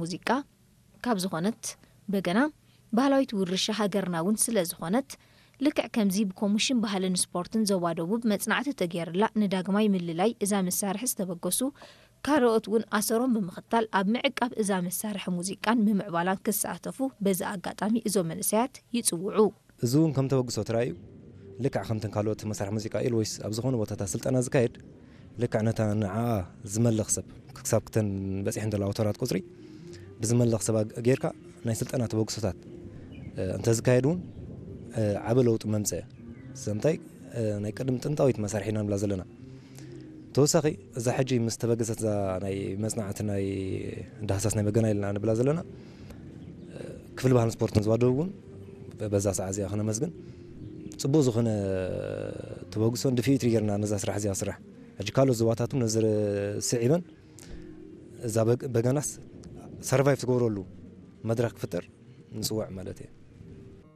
ሙዚቃ ካብ ዝኾነት በገና ባህላዊት ውርሻ ሃገርና እውን ስለ ዝኾነት፣ ልክዕ ከምዚ ብኮሚሽን ባህልን ስፖርትን ዞባ ደቡብ መጽናዕቲ ተገይርላ ንዳግማይ ምልላይ እዛ መሳርሒ ዝተበገሱ ካልኦት እውን ኣሰሮም ብምኽታል ኣብ ምዕቃብ እዛ መሳርሒ ሙዚቃን ብምዕባላን ክሳተፉ በዚ ኣጋጣሚ እዞም መንእሰያት ይጽውዑ። እዚ እውን ከም ተበግሶ ተራእዩ፣ ልክዕ ከምተን ካልኦት መሳርሒ ሙዚቃ ኢል ወይስ ኣብ ዝኾነ ቦታታት ስልጠና ዝካየድ፣ ልክዕ ነታ ንዓኣ ዝመልኽ ሰብ ክሳብ ክተን በፂሐን ዘለዋ ኣውቶራት ቁፅሪ ብዝመልኽ ሰብ ጌርካ ናይ ስልጠና ተበግሶታት እንተዝካየድ እውን ዓበ ለውጢ መምፅአ። ስለምንታይ ናይ ቅድም ጥንታዊት መሳርሒ ኢና ንብላ ዘለና። ተወሳኺ እዛ ሕጂ ምስ ተበገሰት እዛ ናይ መፅናዕቲ ናይ ዳህሳስ ናይ በገና ኢልና ንብላ ዘለና ክፍሊ ባህልን ስፖርትን ዝዋደቡ እውን በዛ ሰዓት እዚኣ ክነመስግን ፅቡቅ ዝኾነ ተበግሶን ድፍኢት ጌርና ነዛ ስራሕ እዚኣ ስራሕ ሕጂ ካልኦት ዞባታት እውን ነዚ ስዒበን እዛ በገናስ ሰርቫይቭ ትገብረሉ መድረክ ክፍጠር ንፅውዕ ማለት እየ።